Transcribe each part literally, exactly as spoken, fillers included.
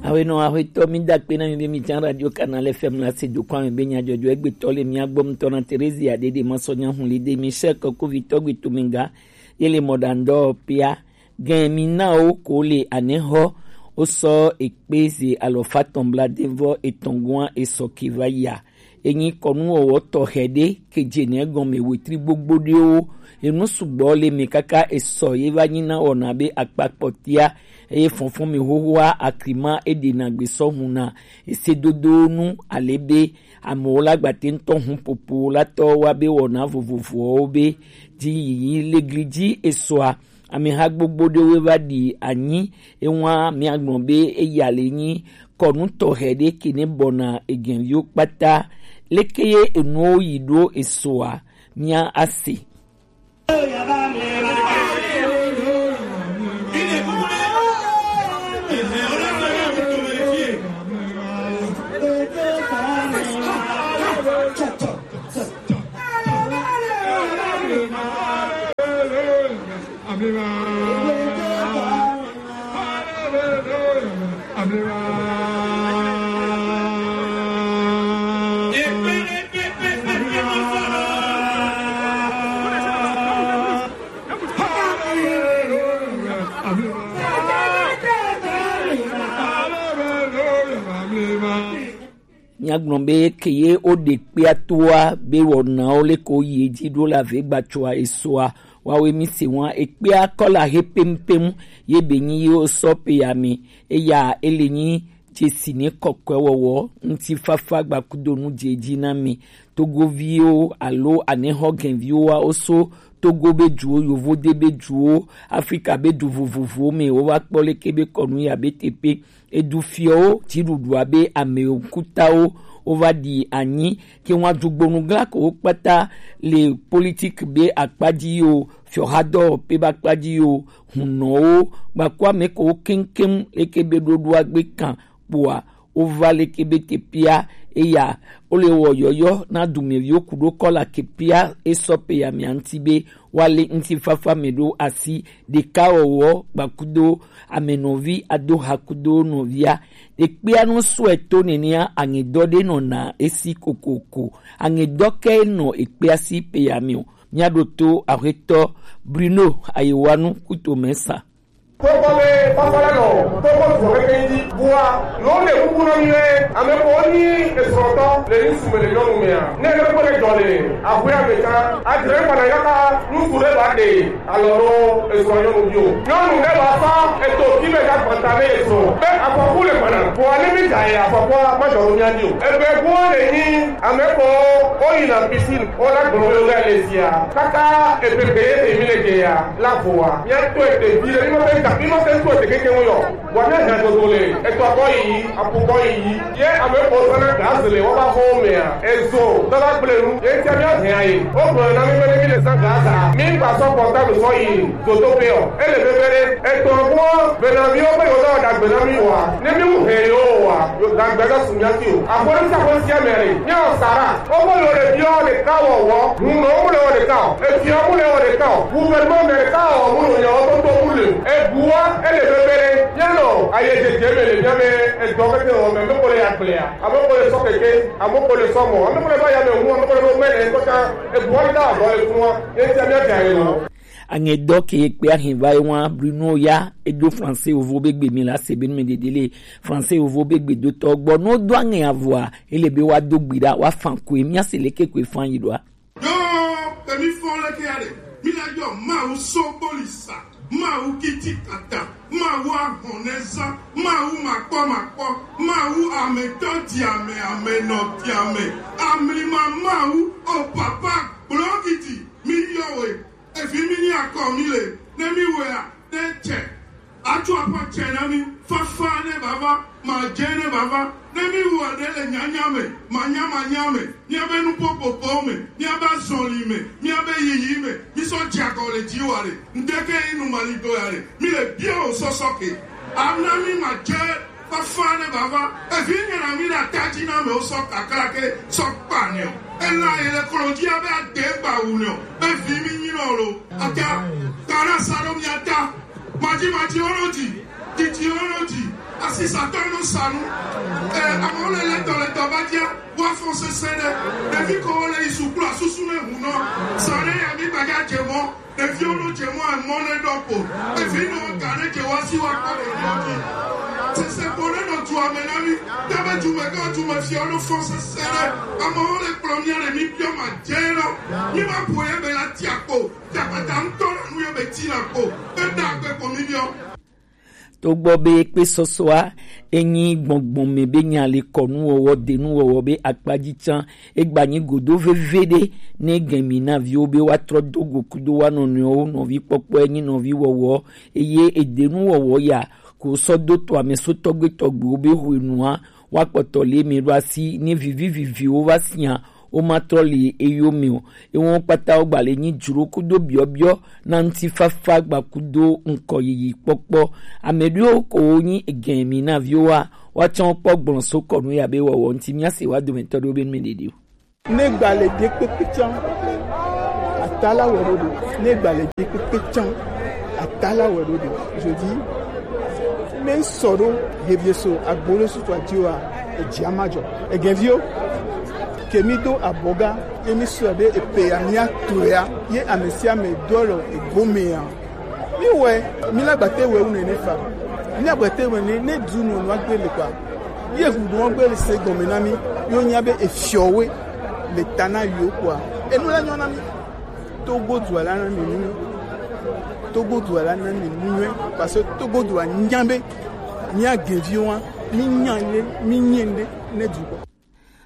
Awenɔ axwetɔ, mi da akpe na mi be mi can Radio Canal F M la se do kɔ ame be nyadzɔdzɔ egbetɔ le mia gbɔ ŋutɔ na Terezia Dede Masɔnya Hunli de Michel Kɔkuvi tɔgbi Tuminga ye le mɔɖaŋdɔ pia. Gɛn mi na wo ko le anɛxɔ wo sɔ ekpe ze alɔfa tɔn bla devɔ etɔn gua esɔ ke va ya. Enyi kɔnu wɔwɔ tɔxɛ ɖe ke dze nɛ gɔme wetri gbogbo ɖewo. Enu sugbɔ le mɛ kaka esɔ ye va nyi na wɔna be akpa kpɔtia. Eye fɔnfɔn mi xoxoa akrima eɖena gbe sɔ hun na esedodo nu ale be amewo la gbate ŋutɔ hun popo la tɔ wa be wɔna vovovowo be dzi yiyi le gli dzi esɔa. Ameha gbogbo ɖewo va ɖi anyi ewa miagblɔ be eya le nyi kɔnu tɔxɛ ɖe ke ne bɔna egɛnviwo kpata. Leke ye enuwo yi ɖo esoa mia ase. Míagblɔ be ke ye woɖe kpea toa be wɔnawo leke woyi edzi ɖo le avegbatsoa esoa, woawoe mi se ŋua ekpea kɔla he pɛmpɛm ye be nyi ye wosɔ pe ya me. Eya ele nyi dzesi ne kɔkɔe wɔwɔ ŋutifafa gbakudo nu dze edzi na mi. Togoviwo alo anexɔgɛnviwoa woso Togo be duwo, Yovode be duwo, Afrika be du vovovowo me wova kpɔ leke be kɔnu ya be teƒe. Edu fiɔwo dziɖuɖua be ame ŋkutawo wova ɖi anyi ke ŋua dugbonu gla ko wo kpata le politik be akpa dzi yo, fiɔhadɔ pe be akpa dzi yo, hunɔwo gbaku ame ko wo keŋkeŋ leke be ɖoɖoa gbe kan kpoa wova leke be teƒea eya wole wɔ yɔyɔ na dumeviwo ku ɖo kɔla kepea esɔ pe ya mia ŋuti be woalé ŋutifafa me ɖo asi ɖekawɔwɔ gbakudo amenɔvi ado ha kudo nɔvia. Ekpea nu sɔe to nenea aŋedɔ ɖe nɔna esi kokoko. Aŋedɔ ke nɔ ekpea si pe ya me o. Míaɖo to axwetɔ Bruno Ayewanu kuto me sa. Kpɔkpɔ be fafa la nɔ kpɔkpɔ vɔ keke yi di bua lo le kuku nɔ mi lɛ ame ko ni esrɔtɔ le ni sume le nyɔnu mea ne ne kpɔ le jɔ le aƒe ame ta adre kpana yaka ŋutsu ɖe ba de alɔ ɖo esrɔ nyɔnu bi o nyɔnu ɖe ba fa eto ti be ga gbata be esrɔ be afɔku le gbana bua ne mi da ye afɔkua ma jɔ lo mia di o ebe gbɔ le ni ame ko o yi na piscine o la gblɔ be o ga le zia kaka epepe ye te mi le de ya la voa mia to ete vi le mi ma fe ga mi ma fe to ete keke ŋu yɔ. Bua ne hɛn dodo le etɔ kɔ yi apu kɔ yi ye ame ko sɔna gaze le wɔba xɔ mea ezo dɔla gble nu ye tia mia hɛn ayi o gblɔ na mi be ne mi le san gaza mi gba sɔ kɔta mi sɔ yi zoto pe ɔ ele bebe ɖe etɔ kɔ bena mi wo be yɔ dɔ dagbe na mi wa ne mi wu hɛn yo wa yo dagbe ka su mia ti o akɔri sa ko sia mɛ re mia sara o ko yo le biɔ le ka wɔ wɔ hun no mu le wɔ le ka o etia mu le wɔ le ka o gouvernement mɛ le ka o mu no nya o to to mu le e bua ele bebe ɖe Míanɔ ayedzedze me le mía be edɔ keke wɔ me, ame ko le agblea, ame ko le sɔ keke, ame ko le sɔ mɔ, ame ko le va yame ŋu, ame ko le ɖo mɛ le ŋkɔta, ebuɔ ɖe da avɔ le fua, ye tia mía dza ye lɔ. Aŋedɔ ke kpe ahin va yi wa Bruno ya edo français ovo be gbe mi la se be nu me dede le français ovo be gbe do tɔ gbɔ no do aŋe avɔa ele be wa do gbi ɖa wa fan koe mía se le ke koe fan yi ɖoa. Ɖo emi fɔ leke ya ɖe? Mi la yɔ Mawu so kpoli sa, Mawu kiti kata, Mawu ahɔnɛza, Mawu makpɔ makpɔ, Mawu ametɔ di ame, amenɔ di ame, amlima Mawu, o papa gblɔ kiti, mi yɔ we, evi mi ni akɔ mi le, ne mi wea, ne tsɛ. Atsɔ aƒe tsɛ na mi, fafa ne bava, madze ne bava, ne mi wɔ ɖe le nyanya me, manya manya me, míabe nuƒoƒoƒewo me, míabe azɔli me, míabe yiyi me, mi sɔ dze agɔ le dzi wa ɖe, ŋdeke yi nu mali do ya ɖe, mi le bia o sɔsɔ ke. Ana mi madze fafa ne bava, evi nye na mi ɖe ata dzi na amewo sɔ kakra ke, sɔ kpa ne o. Ela yi le klo dzi abe ade gba wu ne o. Be vi mi nyi nɔ lo. Ata, ta na sa ɖo mi ata. Maji maji oro ji, titi oro ji, Asisatɔ no sanu. Eh, amewo le lɛtɔlɛtɔ va dzia, woafɔ sesẽ ɖe. Ɖevi ko wo le yi sukulu asusu ne ŋu nɔ. Sa ɖe ya mi gbaga dze mɔ. Ɖeviwo no dze mɔ emɔ ne ɖɔ ko. Evi no ga ne dze wa si wa kpɔ ɖe ɖɔ dzi. Sese ko ne nɔ dua me na mi. Tabe dume ga dume fia no fɔ sesẽ ɖe. Amewo le kplɔ mia le mi biɔ ma dze nɔ. Mi ma po ye be la tia ko. Takpata ŋutɔ la nu ye be ti la ko. Eda gbe ko mi biɔ. Togbɔ be kpe sɔsɔa enyi gbɔngbɔn me be nya le kɔnuwɔwɔ, denuwɔwɔ be akpaji can, egba nyi godo veve ɖe ne gɛn mi na viwo be woatrɔ do go kudo wa nɔnɔewo nɔvi kpɔkpɔ enyi nɔvi wɔwɔ, eye edenuwɔwɔ ya ko sɔ do to amesotɔgbe tɔgbewo be hwenua woakpɔtɔ le mi ɖo asi ne vivi viviwo va sia, womatrɔ le eyo me o. Ewɔn kpata wo gba le nyi dzro kudo biɔbiɔ na ŋutifafa gba kudo ŋkɔ yiyi kpɔkpɔ. Ame ɖewo ko wo nyi egɛn mi na viwo wa, woatsɔ kpɔ gblɔ so kɔnu ya be wɔwɔ ŋuti mia se wa dometɔ ɖewo be nu me ɖeɖe o. Ne gba le ɖe kpekpe can, ata la wɔ ɖo ɖo. Ne gba le ɖe kpekpe can, ata la wɔ ɖo ɖo. Je dis, me sɔ ɖo hevieso agbolo sutu ati wa, edzi ama dzɔ. Egɛn viwo, ke mi do abɔga, ye mi sɔ be epe ya mia to ya, ye ame sia ame do alɔ egome ya. Mi wɛ, mi la gbate wɛ wu nene fa. Mi la gbate wɛ ne, ne du nɔ nua gbe le kwa. Ye hu nua gbe le se gɔme na mi. Yo nya be efiɔ we le ta na yo kwa. Enu la nyɔ na mi. Togo du ala na mi nu. Togo du ala na mi nu. Parce que Togo du a nya be mi a gevi wa, mi nya le, mi nye nde ne du kwa.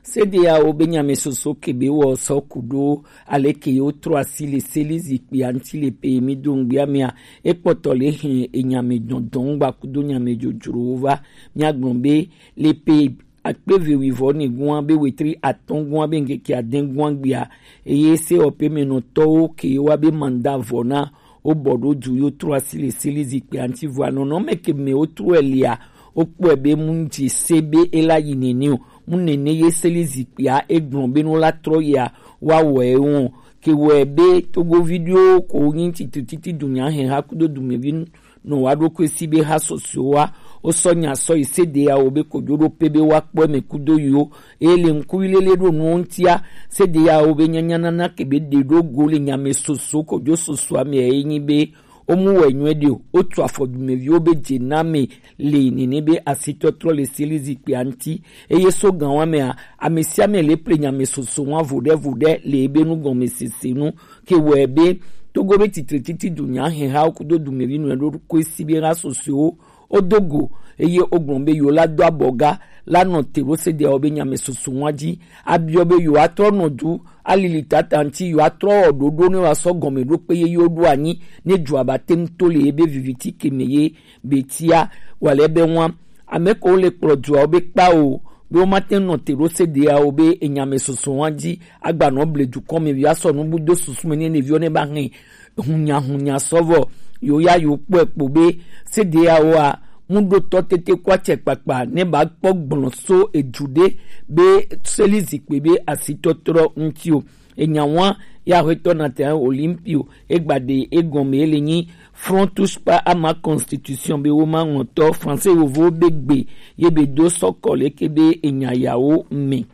C D A O be nyame soso ke be wɔ sɔ kudo aleke ye wotrɔ asi le seli zikpia ŋuti le pe mi do ŋgbia mea, ekpɔtɔ le hɛn enyame dɔndɔn gba kudo nyame dzodzrowo va. Mia gblɔ be le pe akpe ve wuivɔ ni gua be wetri atɔn gua be ŋkeke aden gua gbia, eye se ɔpe me nɔtɔwo ke wa be manda vɔ na wobɔ ɖo du yo trɔ asi le seli zikpia ŋuti vɔ anɔnɔ me ke me wotrɔ elia, wokpɔe be mu ŋdzi se be ela yi nene o. Mu nene ye seli zikpia egblɔ be no la trɔ yia, wa wɔe wɔn. Ke wɔe be Togovi ɖewo ko nyi titi titi dunya hɛn ha kudo dumevi nɔ wa ɖo ko esi be ha sɔsɔe wa. Wosɔ nya sɔ yi C D A O be kojo ɖo pe be wa kpɔe me kudo yo. Eye le ŋkuvi lele ɖo nuwo ŋutia, C D A O be nyanya nana ke be ɖe ɖo go le nyame soso kojo soso ame ye nyi be womu wɛ nyuie ɖe o. Wotu afɔ dumeviwo be dze na me le nene be asitɔtrɔ le seli zikpia ŋuti. Eye so gan wa mea, ame sia ame le ple nyame soso wa vo ɖe vo ɖe le ebe nu gɔme sese nu. Ke wɔe be Togo be titre titi dunya hɛn ha kudo dumevi nu ɖo ko esi be ha sosoewo wodo go, eye wogblɔ be yewo la do abɔga la nɔ te ɖo C D A O be nyame soso wa dzi. Abiɔ be yewo atrɔ nɔ du alili tata ŋuti, yewo atrɔ wɔ ɖoɖo ne wa sɔ gɔme ɖo kpe ye yewo ɖo anyi ne dua ba te ŋu to le ye be viviti ke me ye be tia wa le be wa. Ame ko le kplɔ dua wo be kpa o, be wo ma te nɔ te ɖo C D A O be enyame soso wa dzi, agba nɔ ble dukɔ me via sɔ nu bu do susu me ne ɖeviwo ne ba hɛn hunya hunya sɔvɔ. Yo ya yo kpɔe kpo be C D A O a mu ɖo tɔ tete kɔ acɛ kpakpa ne ba kpɔ gblɔ so edu ɖe be seli zikpe be asitɔtrɔ ŋuti o. Enya wa ya hwetɔ na te Olympio egba ɖe egɔme le nyi Front touche pas à ma constitution be wo ma ŋɔtɔ français yovo be gbe ye be do sɔkɔ leke be enya yawo me.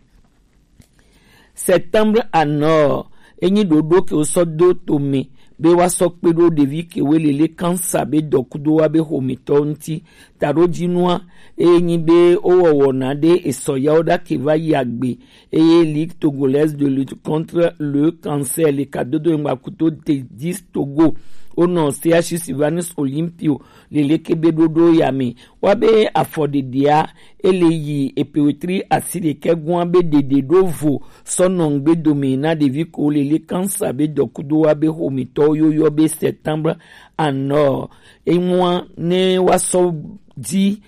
Septembre à Nord, enyi ɖoɖo ke wosɔ do to me be wa sɔ kpe ɖo ɖevi ke we lele kansa be dɔkudo wa be xometɔ ŋuti. Taɖojinua enyi be wowɔwɔ na ɖe esɔ yawo ɖa ke va yi agbe, eye Ligue togolaise de lutte contre le cancer le kadodo ŋgba kuto te dix Togo wonɔ C H U Sylvanus Olympio lele ke be ɖoɖo ya me. Wa be afɔɖeɖea ele yi epe wetri asi ɖekɛ gua be ɖeɖe ɖo vo sɔ nɔ ŋgbe dome na ɖevi ko lele kansa be dɔkudo wa be xometɔwo yoyɔ be septembre à Nord. Enua ne wa sɔ dzi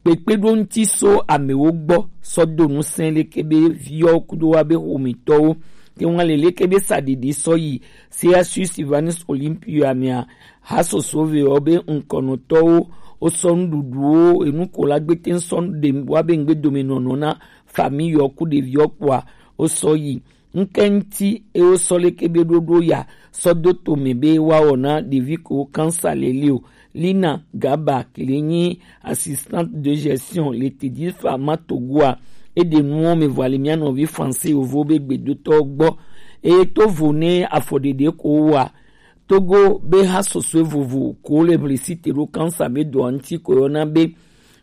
kpekpe ɖo ŋuti so amewo gbɔ sɔ do ŋusẽ leke be viwo kudo wa be xometɔwo. Ke wa lele ke be sa ɖeɖe sɔ yi C H U Sylvanus Olympio amea, ha soso ve wo be ŋkɔnɔtɔwo, wo sɔ nuɖuɖuwo, enu ko la gbete sɔ ɖe wa be ŋgbe dome nɔnɔ na famille yo ku ɖeviwo kpɔa, wo sɔ yi. Ŋkɛ ŋuti e wo sɔ leke be ɖoɖo ya sɔ do to me be wa wɔ na ɖevi ko kansa lele o. Lina Gaba, ki le nyi assistante de gestion le Teddy Pharma Togo a, e ɖe nu wo me vɔ ale mia nɔvi français yovo be gbedotɔ gbɔ. Eye to vo ne afɔɖeɖe ko wa Togo be ha sɔsɔe vovo ko le hlisi te ɖo kansa be dɔa ŋuti ko yɔna be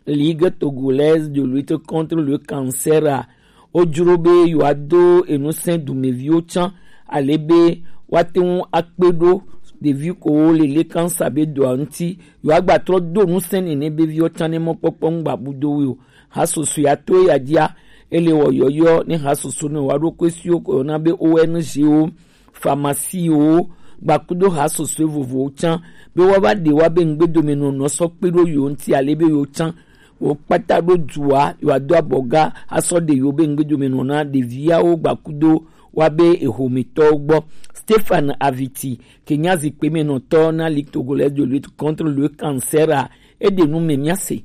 Ligue Togolaise de Lutte Contre le Cancer a, wo jro be yewoado enusẽ dumeviwo tsã, ale be woate ŋu akpe ɖo ɖevi kowo le le kansa be dɔa ŋuti, yewoagba trɔ do nusẽ nene be viwo tsã ne mɔkpɔkpɔ ŋu gbabu do wo o. Hasoso ya to ya dzia, ele wɔ yɔyɔ ne hasoso ne wa ɖo kɔe siwo ko yɔna be O N G wo, pharmacie wo, gbakudo hasoso vovowo tsã, be woava ɖe wa be ŋgbedomenɔnɔ sɔ kpe ɖo yewo ŋuti, ale be yewo tsã wo kpata ɖo dua, yewo ado abɔga asɔ ɖe yewo be ŋgbedomenɔnɔ na ɖeviawo gbakudo wa be ehometɔwo gbɔ. Stéphane Aviti, ke nya zikpemenɔtɔ na Ligue Togolaise de Lutte Contre le Cancer a, eɖe nu me mia se.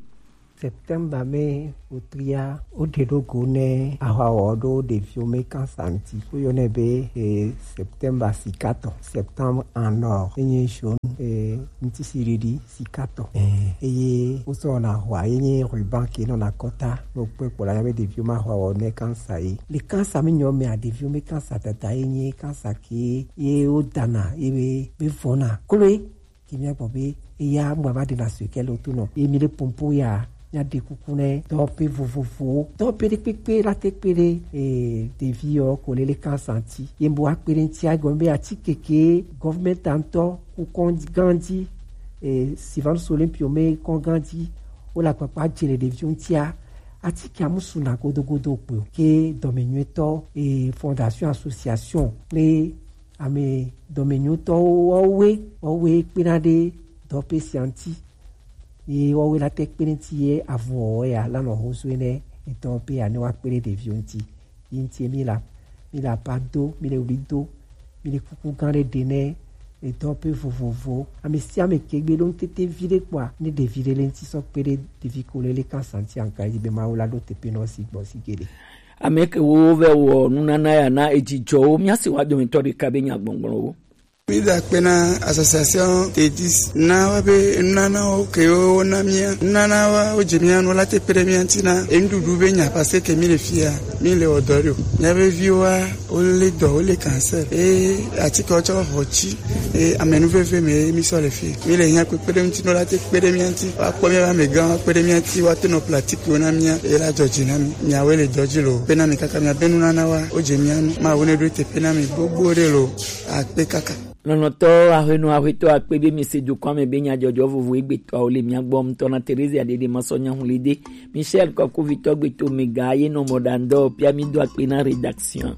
Septembre me wotria, woɖe ɖo go ne ahwawɔ ɖo ɖeviwo me kansa ŋuti. Woyɔnɛ be, eh, Septembre sikatɔ, Septembre en or. Enye jaune, eh, ŋutisiɖiɖi sikatɔ. Eh, eye wosɔ wɔna hwa ye nye ruban ke nɔna kɔta, no kpɔe kpɔ la ya be ɖeviwo ma hwa wɔ ne kansa ye. Le kansa mi nyɔ mea, ɖeviwo mi kansa dada ye nye kansa ke ye wo dana ye be, be vɔna. Kloe, ke mia gbɔ be, eya mgba va ɖe na sue ke le to nɔ. Ye mi le pompo ya, mia ɖe kuku ne dɔwɔƒe vovovowo. Dɔwɔƒe ɖe kpekpe la te kpe ɖe, eh, ɖevi yɔ ko le le kansa ŋuti. Ye mbo akpe ɖe ŋuti agɔme be atike ke government ŋutɔ ku kɔn gãdzi, eh, Sylvanus Olympio me kɔn gãdzi, wo le akpakpa dze le ɖeviwo ŋutia, atike amusu na godogodo kpe o. Ke dɔmenyuitɔ, eh, fondation association kple ame dɔmenyuitɔwo wɔwoe, wɔwoe kpena ɖe dɔwɔƒe sia ŋuti. Ye wɔwoe la te kpe ɖe ŋuti ye avɔ ya la nɔ ho so ne etɔ pe ya ne wa kpe ɖe ɖeviwo ŋuti. Yi ŋuti mi la, mi la pa do, mi le wli do, mi le kuku gã ɖe ɖe ne edɔ pe vovovo. Ame sia ame ke gbe ɖo ŋutete vi ɖe kpɔa, ne ɖevi ɖe le ŋuti sɔ kpe ɖe ɖevi ko le le kansa ŋuti anka yi be Mawu la ɖo teƒe nɔ si gbɔ si geɖe. Ame ke wo vɛ wɔ nunana ya na edzijɔwo, mia se wa dometɔ ɖeka be nya gbɔngbɔnwo. Mi da akpe na association Tedis na wa be nunanawo ke wo na mia, nunana wa wo dze mia nu la te kpe ɖe mia ŋuti na enuɖuɖu be nya, parce que mi le fia, mi le wɔ dɔ ɖo. Mia be viwo wa, wo le dɔ, wo le cancer. E atike wo tsɔ xɔ tsi, e amenuveve me mi sɔ le fi. Mi le nya kpekpe ɖe ŋuti no la te kpe ɖe mia ŋuti. Wa kpɔ mia be amegã wa kpe ɖe mia ŋuti, wa te nɔ pratique wo na mia, e la dzɔ dzi na mi. Miawoe le dɔ dzi lo. Kpe na mi kaka mia be nunana wa, wo dze mia nu. Mawu ne ɖo teƒe na mi gbogbo ɖe lo. Akpe kaka. Lɔlɔ̃tɔ aƒenɔ aƒetɔ akpe be mi se dukɔa me be nyadzɔdzɔ vovo egbetɔawo le mia gbɔ ŋutɔ na Teresa Dede Masɔ Nyahulide, Michel Kɔkuvitɔ gbeto mega ye nɔ mɔ ɖa ŋdɔ pia mi do akpe na rédaction.